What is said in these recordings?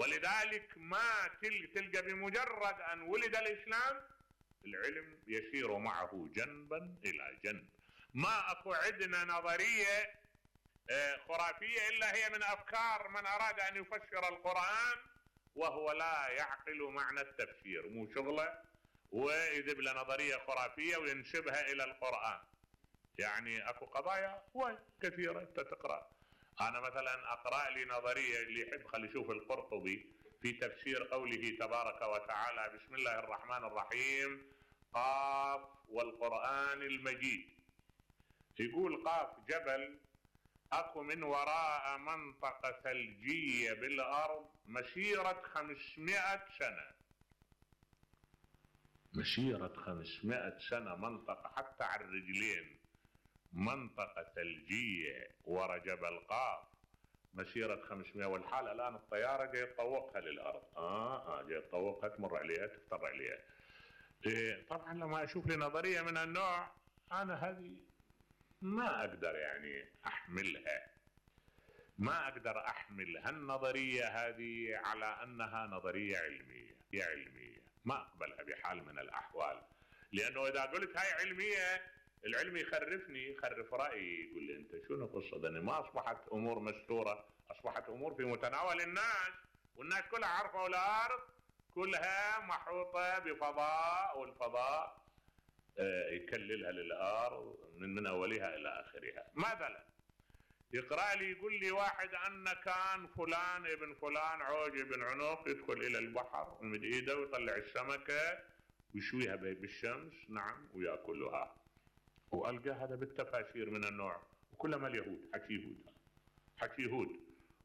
ولذلك ما تلقى بمجرد أن ولد الإسلام العلم يسير معه جنبا إلى جنب. ما أكو عندنا نظرية خرافية إلا هي من أفكار من أراد أن يفسر القرآن وهو لا يعقل معنى التفسير، مو شغله ويذب له نظرية خرافية وينسبها إلى القرآن. يعني أكو قضايا كثيرة تقرأ. أنا مثلا أقرأ لي نظرية اللي يحب خلي يشوف القرطبي في تفسير قوله تبارك وتعالى بسم الله الرحمن الرحيم قاف والقرآن المجيد. يقول قاف جبل أكو من وراء منطقة ثلجية بالأرض مسيرة 500 سنة، مسيرة 500 سنة منطقة حتى على الرجلين، منطقة ثلجية ورا جبل قاف مسيرة 500، والحالة الآن الطيارة جاي تطوقها للأرض. جاي تطوقها تمر عليها تفتر عليها. طبعا لما أشوف لي نظرية من النوع أنا هذه ما أقدر يعني أحملها، ما أقدر أحمل هالنظرية هذه على أنها نظرية علمية، ما أقبلها بحال من الأحوال. لأنه إذا قلت هاي علمية العلم يخرفني، يخرف رأيي، يقول لي أنت شنو قصة ده؟ ما أصبحت أمور مستورة، أصبحت أمور في متناول الناس، والناس كلها عارفة والأرض كلها محوطة بفضاء، والفضاء يكللها للأرض من أولها إلى آخرها. مثلا يقرأ لي يقول لي واحد أن كان فلان ابن فلان عوج ابن عنق يدخل إلى البحر ومد إيده ويطلع السمكة ويشويها بالشمس، نعم، ويأكلها. وألقى هذا بالتفاسير من النوع، وكلها اليهود حكي يهود،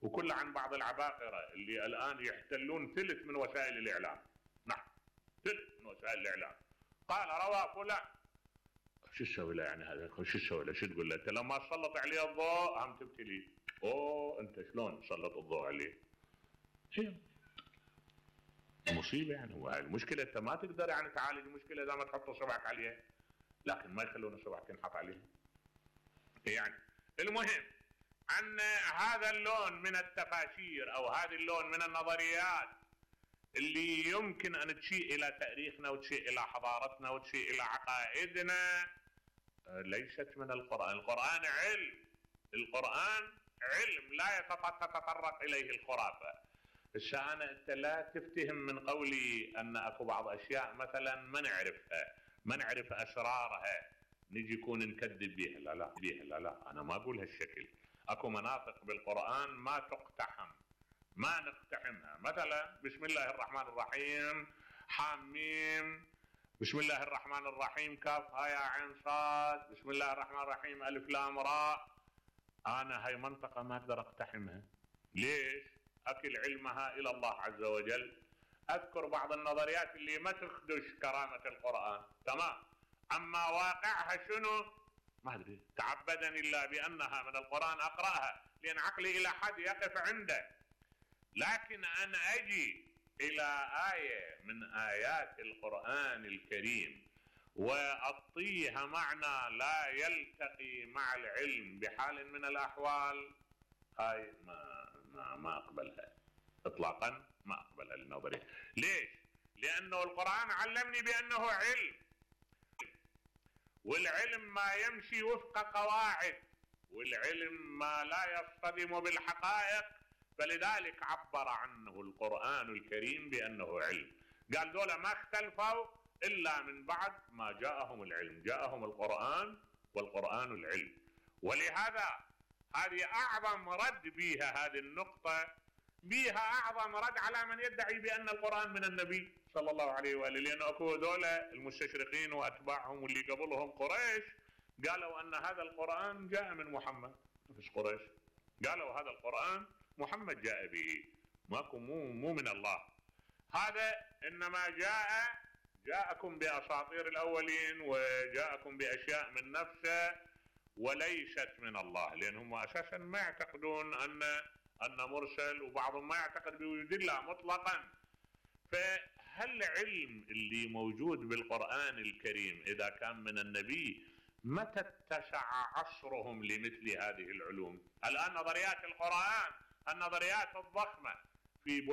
وكل عن بعض العباقرة اللي الآن يحتلون ثلث من وسائل الإعلام. نعم، ثلث من وسائل الإعلام. قال روى فلان. شو تسوي له يعني هذا؟ شو تسوي له؟ شو تقول له؟ انت لما تسلط عليه الضوء هم تبتلي. انت شلون تسلط الضوء عليه؟ هي مصيبه يعني. هو المشكله انت ما تقدر يعني تعالج المشكله اذا ما تحط صبعك عليها، لكن ما يخلون صبعك ينحط عليها. يعني المهم ان هذا اللون من التفاسير او هذا اللون من النظريات اللي يمكن أن تشيء إلى تاريخنا وتشيء إلى حضارتنا وتشيء إلى عقائدنا ليست من القرآن. القرآن علم، القرآن علم لا تتطرق إليه الخرافة. الشأن أنت لا تفتهم من قولي أن أكو بعض أشياء مثلا ما نعرف أسرارها نجي يكون نكذب بيها. لا أنا ما أقول هالشكل. أكو مناطق بالقرآن ما تقتحم، ما نقتحمها. مثلا بسم الله الرحمن الرحيم حاميم، بسم الله الرحمن الرحيم كاف هاء عين صاد، بسم الله الرحمن الرحيم ألف لام راء. أنا هاي منطقة ما أقدر أقتحمها. ليش؟ أكل علمها إلى الله عز وجل. أذكر بعض النظريات اللي ما تخدش كرامة القرآن، تمام، أما واقعها شنو ما أدري. تعبدني الله بأنها من القرآن أقرأها لأن عقلي إلى حد يقف عنده. لكن أنا أجي إلى آية من آيات القرآن الكريم وأعطيها معنى لا يلتقي مع العلم بحال من الأحوال، هاي ما أقبلها إطلاقا، ما أقبلها النظرية. ليش؟ لأنه القرآن علمني بأنه علم، والعلم ما يمشي وفق قواعد، والعلم ما لا يصطدم بالحقائق، فلذلك عبر عنه القرآن الكريم بأنه علم. قال دولة ما اختلفوا إلا من بعد ما جاءهم العلم، جاءهم القرآن والقرآن العلم. ولهذا هذه أعظم رد بها، هذه النقطة بها أعظم رد على من يدعي بأن القرآن من النبي صلى الله عليه وآله. لأنه أكو دولة المستشرقين وأتباعهم واللي قبلهم قريش قالوا أن هذا القرآن جاء من محمد. مش قريش قالوا هذا القرآن محمد جاء به، ماكو مو من الله. هذا إنما جاءكم بأساطير الأولين وجاءكم بأشياء من نفسه وليست من الله، لأنهم أساسا ما يعتقدون أن مرسل، وبعضهم ما يعتقد بوجود الله مطلقا. فهل العلم اللي موجود بالقرآن الكريم إذا كان من النبي متى اتسع عصرهم لمثل هذه العلوم؟ الآن نظريات القرآن، النظريات الضخمة في